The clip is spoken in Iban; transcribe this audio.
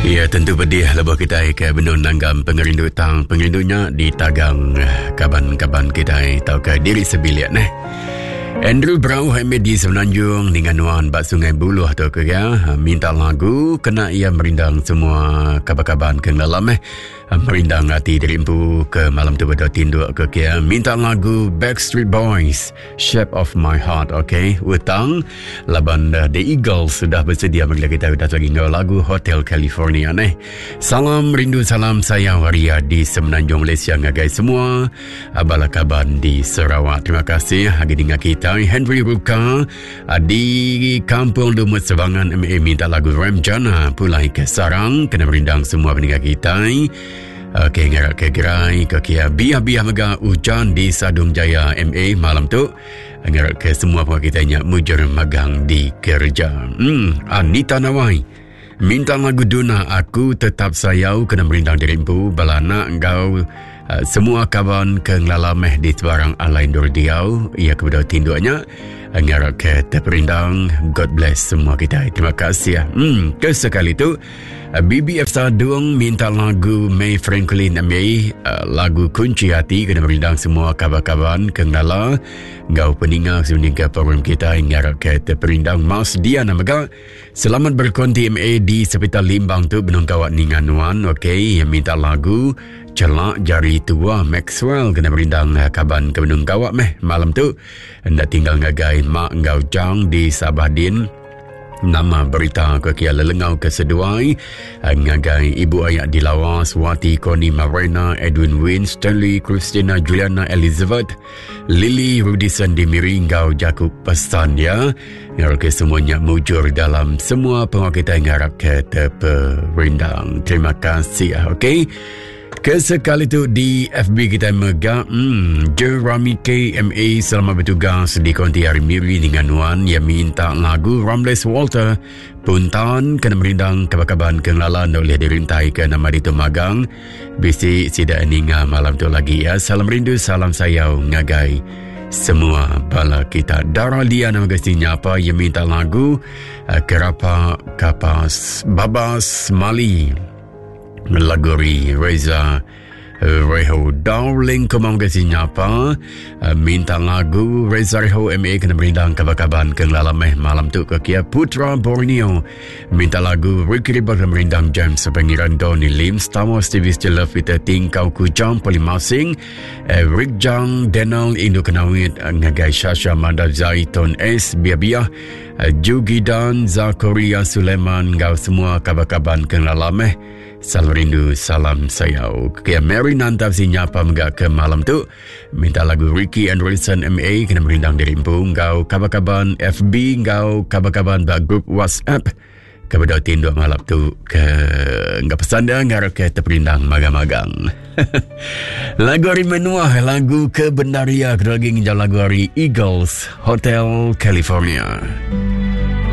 Ya tentu pedih lebuh kitai ke benung nanggam pengerindu tang pengerindu nya ditagang kaban-kaban kitai tauka diri sebilik neh. Andrew Brauh MA di Semenanjung ninga nuan ba Sungai Buluh tu ke ya minta lagu kena iya merindang semua kaban-kaban ke ngelam eh merindang ati diri empu ke malam tu bedau tinduk ke kia minta lagu Backstreet Boys Shape of My Heart okay utang laban uh, The Eagles sudah bersedia bagi kita udah lagi enggau lagu Hotel California neh salam rindu salam sayang waria di Semenanjung Malaysia ngagai semua uh, bala kaban di Sarawak terima kasih agi dengar kita Henry Ruka uh, di Kampung Lumut Sebangan MA minta lagu Ramjana pulai ke Sarang kena merindang semua pendengar kita Okey, ngarap ke gerai ke kia biah-biah mega ujan di Sadung Jaya MA malam tu. Ngarap ke semua pengarap kita nya mujur magang di kerja. Hmm, Anita Nawai. Minta lagu Duna aku tetap sayau kena merindang diri empu bala anak enggau uh, semua kaban ke ngelala meh di sebarang alai endur diau ia ke bedau tinduk nya ngarap ke terperindang God bless semua kita terima kasih hmm ke sekali tu BBF Sadung minta lagu May Franklin May uh, lagu Kunci Hati kena merindang semua kaban-kaban ke ngelala enggau peninga sebenarnya program kita ngarap ke terperindang Mas Diana mega Selamat berkonti MA di Sepital Limbang tu benung kawat ninga nuan okey minta lagu Celak Jari Tua Maxwell kena merindang eh, kaban ke benung kawat meh malam tu enda tinggal ngagai mak enggau Jang di Sabah din nama berita ke kia lelengau ke seduai eh, ngagai ibu ayak di Lawas Wati Koni Marina Edwin Win Stanley Christina Juliana Elizabeth Lily Rudison di Miri enggau jaku pesan ya ngarap ke semuanya mujur dalam semua pengawa kita ngarap ke terperindang terima kasih okey Kesekali tu di FB kita mega hmm, Jeremy KMA selamat bertugas di konti hari Miri dengan Nuan yang minta lagu Ramles Walter Puntan kena merindang kaban-kaban ke ngelala oleh dirintai ke nama ditu magang bisi sida ninga malam tu lagi ya. Salam rindu, salam sayau ngagai semua bala kita. Dara Lia nama gesti nyapa yang minta lagu eh, Kerapa Kapas Babas Mali. Laguri Reza Reho Darling Kumang Gesi Nyapa eh, Minta lagu Reza Reho MA kena merindang kaban-kaban ke ngelala meh malam tu ke Kia Putra Borneo Minta lagu Ricky Riba kena merindang James Pengiran Donny Lim Star Wars TV Still Love Peter Tingkau Kujang Polimasing Eric Jang Daniel Indo Kenawit eh, ngagai Shasha Manda Zaiton S Bia-Bia eh, Jugidan Zakaria Suleiman enggau semua kaban-kaban ke ngelala meh Salam rindu, salam sayau. Ke Mary Nantap si nyapa mega ke malam tu. Minta lagu Ricky and Wilson MA kena merindang diri empu enggau kaban-kaban FB enggau kaban-kaban ba grup WhatsApp. Ke bedau tinduk malam tu ke enggau pesan dia ngarap ke terperindang magang-magang. lagu hari menuah, lagu ke bendaria, ke lagi nginjau lagu hari Eagles Hotel California.